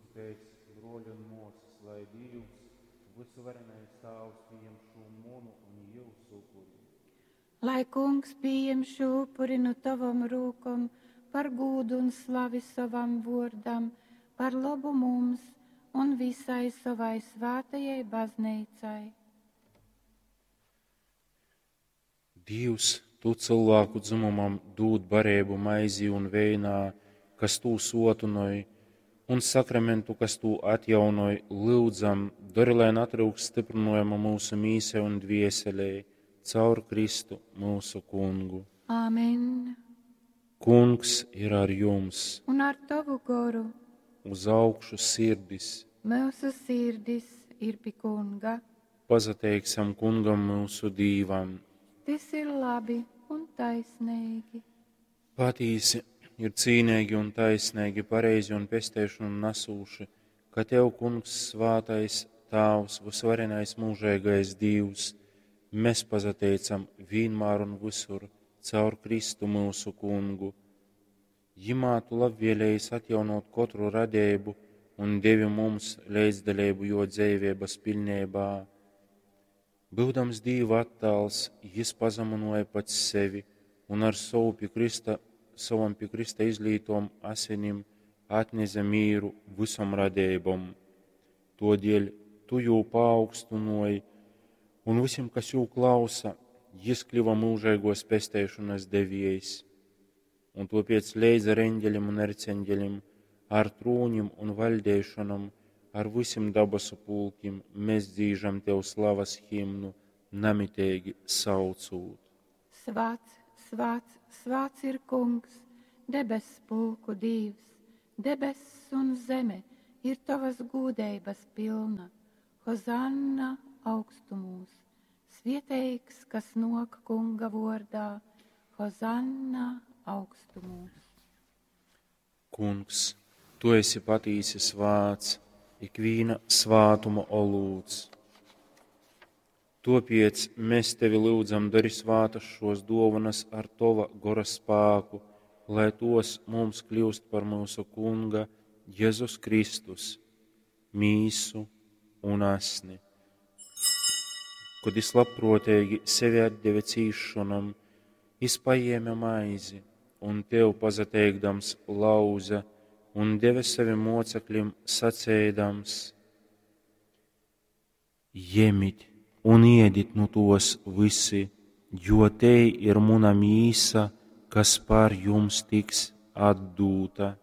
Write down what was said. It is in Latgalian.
Lūdzu tēc, bruoļi un muosys, lai Dīvs, vysuvarenais Tāvs, pījem šū munu un jyusu upuri. Lai Kungs pījem šū upuri nu tovom rūkom par gūdu un slavi sovam vuordam, par lobu mums un visai sovai svātajai bazneicai. Dīvs, tu cylvāku dzymumam dūd bareibu maizī un veinā, kas tū suotynoj, un sakramentu, kas tū atjaunoj, lyudzam, dori, lai natryukst styprynojuma myusu mīsai un dvieselei, caur Kristu myusu Kungu. Āmen. Kungs ir ar jums! Un ar tovu goru Uz augšu sirdis! mūsu sirdis ir pi Kunga. Pasateiksim Kungam myusu Dīvam! Tys ir labi un taisnīgi. Patīsi ir cīneigi un taisneigi, pareizi un pesteišonu nasūši, ka Tev, Kungs, svātais Tāvs, vysvarenais mūžeigais Dīvs, mēs pasateicam vienmēr un visur caur Kristu myusu Kungu. Jimā Tu labvēlējies atjaunot kotru radību un devi mums līdzdaļību jo dzīvības pilnībā. Būdams Dīva attēls, jis pazeminoja pats sevi un ar savu pie Krista, savam pie Krista izlītom asinim atneze mīru visom radībom. Todēļ tu jū paaugstinoji, un visiem, kas jū klausa, jis kļuva mūžīgos pesteišanas deviejs. Un topiec leidz ar eņģeļiem un erceņģeļiem, ar trūņim un vaļdeišanom, ar visiem dabasu pulkim, mēs dzīžam tev slavas himnu, namitīgi saucūt. Svāts, svāts, svāts ir Kungs, debes pulku Dīvs, debess un zeme ir tavas gūdeibas pilna. Hozanna augstumūs, svieteigs, kas nok Kunga vordā, Hozanna augstumūs. Kungs, tu esi patīsi svāts, ikvīna svātuma olūts. Topiec mēs tevi lūdzam, dari svātas šos dovanas ar tova gora spāku, lai tos mums kļūst par mūsu Kunga Jēzus Kristus, mīsu un asni. Kad jis labprātīgi sevi atdeva cīšanam, jis paēma maizi un tev pasateikdams lauza un deva saviem mocekļiem sacēdams: Jemit un iedit nu tos visi, jo te ir muna mīsa, kas par jums tiks atdūta.